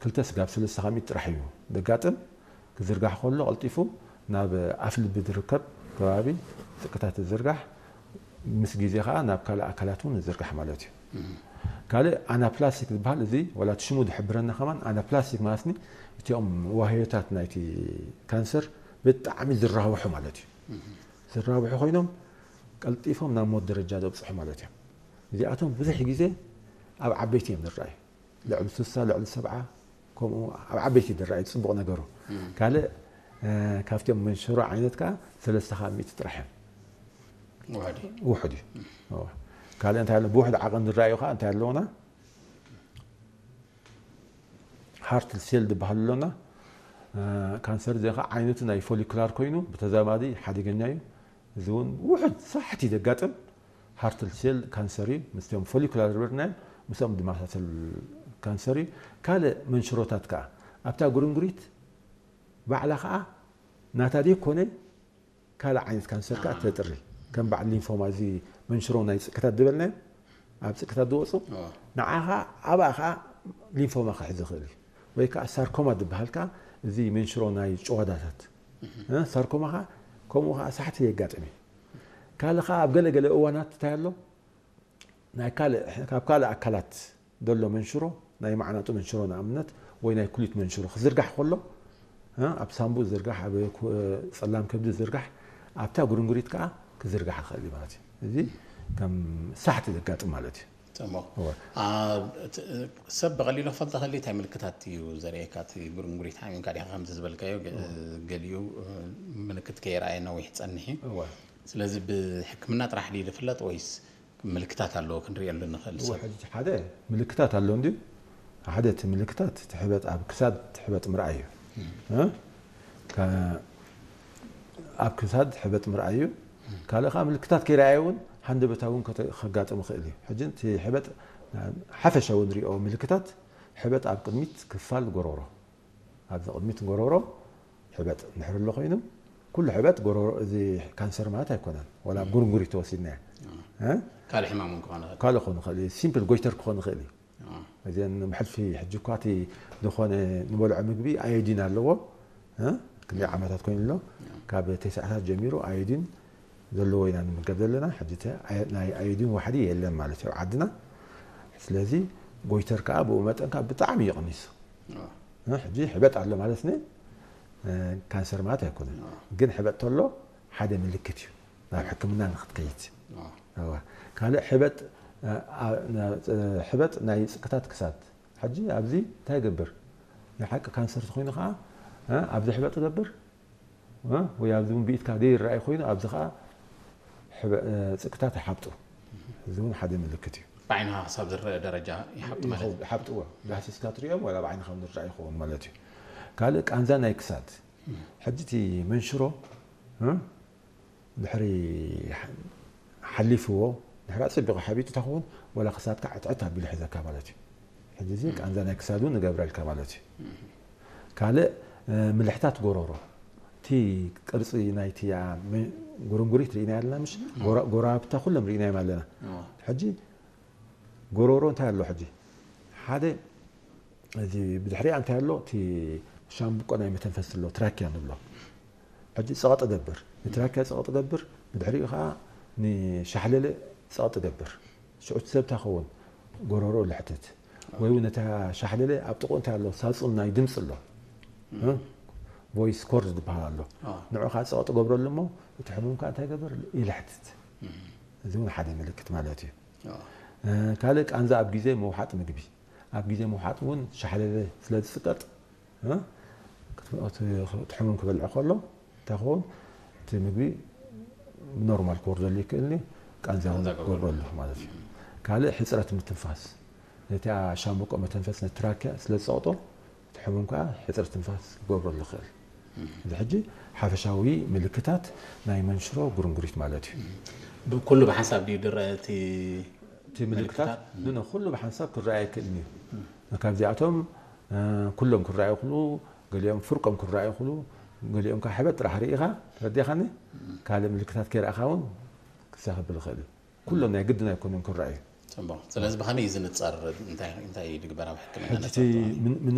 ክልተ ስጋብ ሰለስተ ካብ ሚእቲ ጥራሕ እዩ ዘጋጥም። ክዝርጋሕ ከሎ ቀልጢፉ ናብ ኣፍ ልቢ ዝርከብ ከባቢ ጽቅታት ዝዝርጋሕ፣ ምስ ግዜ ከዓ ናብ ካልእ ኣካላት እውን ዝዝርጋሕ ማለት እዩ። ካልእ ኣናፕላስቲክ ዝበሃል፣ እዚ ዋላ እቲ ሽሙ ዝሕብረና ከማን፣ ኣናፕላስቲክ ማለትኒ እቲኦም ዋህዮታት ናይቲ ካንሰር ብጣዕሚ ዝራብሑ ማለት እዩ። ዝራብሑ ኮይኖም ቀልጢፎም ናብ ሞት ደረጃ ዘብፅሑ ማለት እዮም። እዚኣቶም ብዙሕ ግዜ ኣብ ዓበይቲ እዮም ዝረኣዩ። ልዕሊ ስሳ፣ ልዕሊ ሰብዓ፣ ከምኡ ኣብ ዓበይቲ ዝረኣዩ፣ ፅቡቕ ነገሩ። ካልእ ካብቲኦም መንሽሮ ዓይነት ከዓ ሰለስተ ካብ ሚእቲ ጥራሕ እዮም። ውሕድ እዩ። ካልእ እንታይ ኣሎ? ብውሕድ ዓቐን ዝረኣዩ ከዓ እንታይ ኣለውና? ሃርት ሴል ዝበሃል ኣሎና። ካንሰር እዚ ከዓ ዓይነቱ ናይ ፎሊኩላር ኮይኑ ብተዛማዲ ሓደገኛ እዩ። እዚ እውን ውሕድ ሳሕቲ ዘጋጥም ሃርት ሴል ካንሰር እዩ። ምስቶም ፎሊኩላር ዝበልናዮም ምስኦም ዝመሳሰል ካንሰር እዩ። ካልእ መንሽሮታት ከዓ ኣብታ ጉርንጉሪት ባዕላ ከዓ ናታ ዘይኮነ ካልእ ዓይነት ካንሰር ከዓ ተጥሪ። ከም በዓል ሊንፎማ፣ እዚ መንሽሮ ናይ ጽቅታት ዝበልናዮ፣ ኣብ ጽቅታት ዝወፁ፣ ንዓ ከዓ ኣብኣ ከዓ ሊንፎማ ክሕዝ ይኽእል እዩ። ወይ ከዓ ሳርኮማ ዝበሃል ከዓ እዚ መንሽሮ ናይ ጭዋዳታት፣ ሳርኮማ ከዓ ከምኡ ከዓ ሳሕቲ የጋጥም እዩ። ካልእ ከዓ ኣብ ገለገለ እዋናት እንታይ ኣሎ? ናይ ካልእ፣ ካብ ካልእ ኣካላት ዘሎ መንሽሮ፣ ናይ ማዕናጡ መንሽሮ ንኣብነት፣ ወይ ናይ ኩሊት መንሽሮ ክዝርጋሕ ከሎ፣ ኣብ ሳምቡ ዝዝርጋሕ፣ ኣብ ጸላም ከብዲ ዝዝርጋሕ፣ ኣብታ ጉርንጉሪት ከዓ ክዝርጋሕ ይኽእል እዩ ማለት እዩ። እዚ ከም ሳሕቲ ዘጋጥም ማለት እዩ። ጽቡቕ። ሰብ ብቐሊሉ ክፈልጥ ከሊ እንታይ ምልክታት እዩ ዘርእየካ? እቲ ጉርንጉሪት ሓሚምካ ዲኻ ከምዚ ዝበልካዮ፣ ገሊኡ ምልክት ከየርኣየ ነዊሕ ይጸንሕ እዩ። ስለዚ ብሕክምና ጥራሕ ድዩ ዝፍለጥ ወይስ ምልክታት ኣለዎ ክንሪኤሉ ንኽእል ሰብ? ሕጂ ሓደ ምልክታት ኣሎ እንድዩ። ሓደ እቲ ምልክታት እቲ ሕበጥ ኣብ ክሳድ እቲ ሕበጥ ምርኣይ እዩ። ኣብ ክሳድ ሕበጥ ምርኣይ እዩ። ካልእ ከዓ ምልክታት ከይረኣየ እውን ሃንደበታዊ እውን ከጋጥም ይኽእል እዩ። ሕጂ እቲ ሕበጥ ሓፈሻዊ ንሪኦ ምልክታት፣ ሕበጥ ኣብ ቅድሚት ክፋል ጎረሮ፣ ኣብዚ ቅድሚት ጎረሮ ሕበጥ እንድሕር ኣሎ ኮይኑ፣ ኩሉ ሕበጥ ጎረሮ፣ እዚ ካንሰር ማለት ኣይኮነን። ዋላ ኣብ ጉርንጉሪት ተወሲድናያ፣ ካልእ ሕማም እውን ክኾን ይኽእል። ካልእ ክኾን ይኽእል እዩ። ሲምፕል ጎይተር ክኾን ይኽእል እዩ። እዚአን ብሕልፊ ሕጂ እኳ እቲ ዝኾነ ንበልዖ ምግቢ ኣዮዲን ኣለዎ። ክንደይ ዓመታት ኮይኑ ኣሎ፣ ካብ ተስዓታት ጀሚሩ ኣዮዲን ዘለዎ ኢና ንምገብ ዘለና። ሕጂ ናይ ኣዮዲን ዋሕዲ የለን ማለት እዩ ኣብ ዓድና። ስለዚ ጎይተር ከዓ ብኡ መጠን ከዓ ብጣዕሚ እዩ ቀኒሱ። ሕጂ ሕበጥ ኣሎ ማለት ን ካንሰር ማለት ኣይኮነን፣ ግን ሕበጥ ተሎ ሓደ ምልክት እዩ ናብ ሕክምና ንክትከይድ። ካልእ ሕበጥ፣ ሕበጥ ናይ ጽቅታት ክሳድ። ሕጂ ኣብዚ እንታይ ይገብር? ናይ ሓቂ ካንሰር ተኮይኑ ከዓ ኣብዚ ሕበጥ ይገብር፣ ወይ ኣብዚ እውን ብኢድካ ዘይረኣይ ኮይኑ ኣብዚ ከዓ ጽቅታት ይሓብጡ። እዚ እውን ሓደ ምልክት እዩ። ብዓይንኻ ክሳብ ዝረአ ደረጃ ይሓብጡ ማለት እዩ። ይሓብጥዎ። ዳህሲስካ ትሪኦም ዋላ ብዓይንኻ እውን ዝረኣ ይኸውን ማለት እዩ። ካልእ ቃንዛ ናይ ክሳድ። ሕጂ እቲ መንሽሮ ድሕሪ ሓሊፍዎ፣ ድሕሪ ኣጸቢቑ ሓቢጡ ተኸውን፣ ዋላ ክሳድካ ዕጥዕጥ ኣቢሉ ሒዘካ ማለት እዩ። ሕጂ እዚ ቃንዛ ናይ ክሳድ እውን ንገብረልካ ማለት እዩ። ካልእ ምልሕታት ጎረሮ፣ እቲ ቅርፂ ናይቲ ጉርንጉሪት ርኢና ኣለና፣ ምሽ ጎራብታ ኩሎም ርኢናዮም ኣለና። ሕጂ ጎረሮ እንታይ ኣሎ? ሕጂ ሓደ እዚ ብድሕሪኣ እንታይ ኣሎ? እቲ ሻምብቆ ናይ መተንፈሲ ኣሎ፣ ትራኪያ ንብሎ። ሕጂ ጸቕጢ ገብር፣ ንትራኪያ ጸቕጢ ገብር፣ ብድሕሪኡ ከዓ ንሻሕለለ ጸቕጢ ገብር። ሽዑ እቲ ሰብ እንታይ ክኸውን? ጎረሮ ልሕትት። ወይ እውን ነታ ሻሕለለ ኣብ ጥቕኡ እንታይ ኣሎ? ሳጹን ናይ ድምፂ ኣሎ፣ ቮይስ ኮርድ ዝበሃል ኣሎ። ንዑ ከዓ ጸቕጢ ገብረሉ እሞ እቲ ሕሙም ከዓ እንታይ ገብር? ይልሕትት። እዚ እውን ሓደ ምልክት ማለት እዩ። ካልእ ቃንዛ ኣብ ግዜ ምውሓጥ ምግቢ። ኣብ ግዜ ምውሓጥ እውን ሻሕለለ ስለ ዝፅቀጥ፣ እቲ ሕሙም ክበልዕ ከሎ እንታይ ክኸውን? እቲ ምግቢ ብኖርማል ክወርደሉ ይክእል፣ ቃንዛ እውን ክገብረሉ ማለት እዩ። ካልእ ሕፅረት ምትንፋስ፣ ነቲ ሻምብቆ መተንፈስ፣ ነቲ ትራኪያ ስለ ዝፀቕጦ፣ እቲ ሕሙም ከዓ ሕፅረት ትንፋስ ክገብረሉ ይክእል። እዚ ሕጂ ሓፈሻዊ ምልክታት ናይ መንሽሮ ጉርንጉሪት ማለት እዩ። ብኩሉ ብሓንሳብ ድዩ ድረአ እቲ እቲ ምልክታት? ኖ፣ ኩሉ ብሓንሳብ ክረኣይ ኣይክእልን እዩ። ካብዚኣቶም ኩሎም ክረኣዩ ይኽእሉ፣ ገሊኦም ፍርቆም ክረኣዩ ይኽእሉ፣ ገሊኦም ከዓ ሕበጥ ጥራሕ ርኢኻ ተረዲኻኒ፣ ካልእ ምልክታት ከይረኣኻ እውን ክሳኸብል ይኽእል እዩ። ኩሎም ናይ ግድን ኣይኮኑን ክረኣዩ። ጽቡቕ። ስለዚ ብኸመይ እዩ ዝንጸር? እንታይ እንታይ እዩ ዝግበር ኣብ ሕክምና ሕጂ ነፍሰ ጡር? ምን- ምን-